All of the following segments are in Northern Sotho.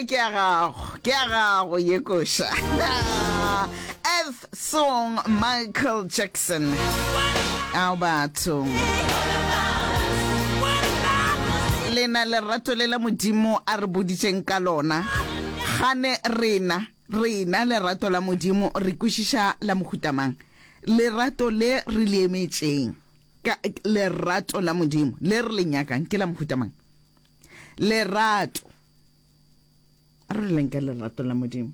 Ye ke ya gago, ke ya gago ye koša. Earth Song Michael Jackson. Ao batho. Lena lerato le la Modimo a re boditšeng ka lona. Gane rena, rena lerato la Modimo re kwešiša la mohuta mang? Lerato le re le emetšeng, ka lerato la Modimo le re le nyakang ke la mohuta mang? Lerato. A re leng ka lerato la Modimo.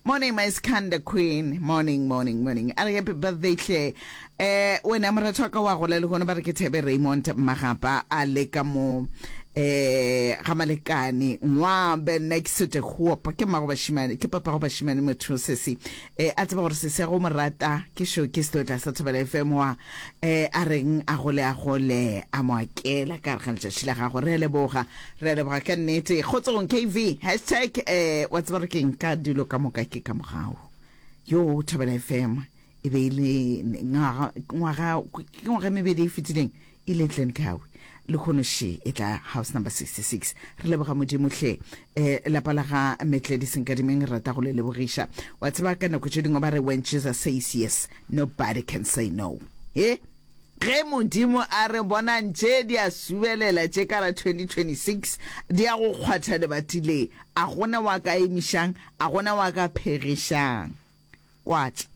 Morning my Skanda Queen. Morning, morning, morning. A re happy birthday hle. Eh wena moratho wa ka wa gola le gona ba re ke Thebe Raymond Magapa a le ka mo eh ga Malekane Ngwabe next to the Hope ke mmago bashimane ke papa go bashimane motho sesi eh a tseba gore sesi ya go mo rata ke sho ke setotla sa Thobela FM wa eh a reng a gole a gole a mo akela ka gare ga letšatši la gago re a leboga re a leboga ka nnete kgotsong kv hashtag eh wa tseba re keng ka dilo ka moka ke ka mogau yo Thobela FM e be e le ngwaga ngwaga ke ngwaga e mebedi e fetileng e le Glencoe lehono še e tla house number 66 re leboga modimo hle eh lapa la ga Metledi Senkadimeng re rata go le lebogiša wa tseba ka nako tše dingwe ba re when Jesus says yes nobody can say no he ge modimo a re bonang tše di a subelela tše ka la 2026 di ya go kgwatha lebati le a gona wa ka emišang a gona wa ka phegišang Kwatša.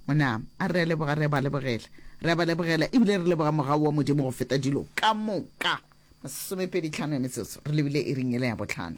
Monama, a re a leboga, re a ba lebogela. Re a ba lebogela, ebile re leboga mogau wa Modimo go feta dilo ka moka. Masomepedi tlhano ya metsotso, re lebile iring yela ya bohlano.